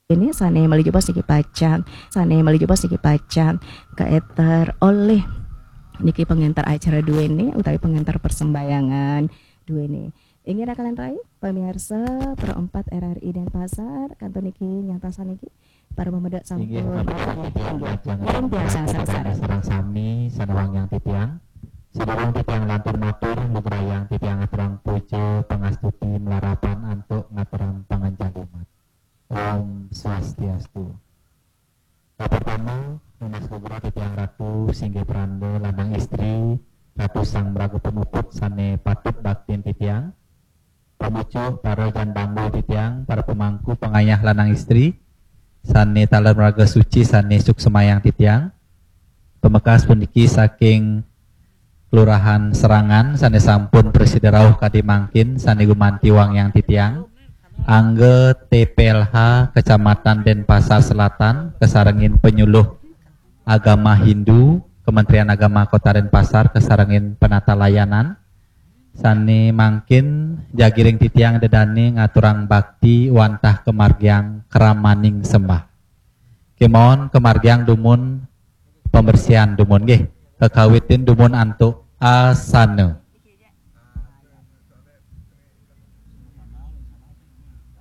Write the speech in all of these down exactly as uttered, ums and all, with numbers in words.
Ini sane malih jebos niki pacang, sane malih jebos niki pacang kaeter olih niki pengenter acara duene utawi pengenter persembahyangan duene. Inggih rakalan rai, pemirsa Pro empat R R I Denpasar, kantun niki nyantosan niki para pamedek sampun. Inggih, Bapak Ibu, titiang lajeng ngiring tiang sareng-sareng. Sareng sami sané wangiang titiang. Sadurung titiang lantur matur, lugrayang titiang aturang puja pangastuti malarapan antuk ngaturang panganjali umat. Om Swastiastu. Kapertama, nunas lugra titiang ratu singgih pranda lanang istri, ratu sang maraga pamuput sané patut baktin titiang. Pamucuk para jan bangul titiang, para pamangku pangayah lanang istri, sané taler maraga suci, sané suksemayang titiang. Pamekas puniki saking Kelurahan Serangan sané sampun prasida rauh kadi mangkin, sané gumanti wangiang titiang. Angga T P L H Kecamatan Denpasar Selatan, kasarengin penyuluh agama Hindu, Kementerian Agama Kota Denpasar, kasarengin penata layanan. Sané mangkin jagi ring titiang ida dané ngaturang bakti wantah kamargiang kramaning sembah. Kémaon kamargiang dumun pembersihan dumun nggih. Kakawitin dumun antuk asana.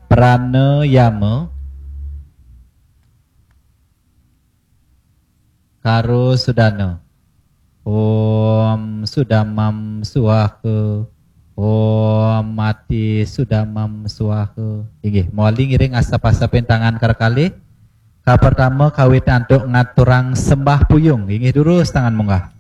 Pranayama. Karo sudana. Om sudamam swaha. Om mati sudamam swaha. Inggih, mawali ngiring asap-asapin tangan kar kalih. Kapertama kawit antuk ngaturang sembah puyung. Inggih, durus tangan munggah.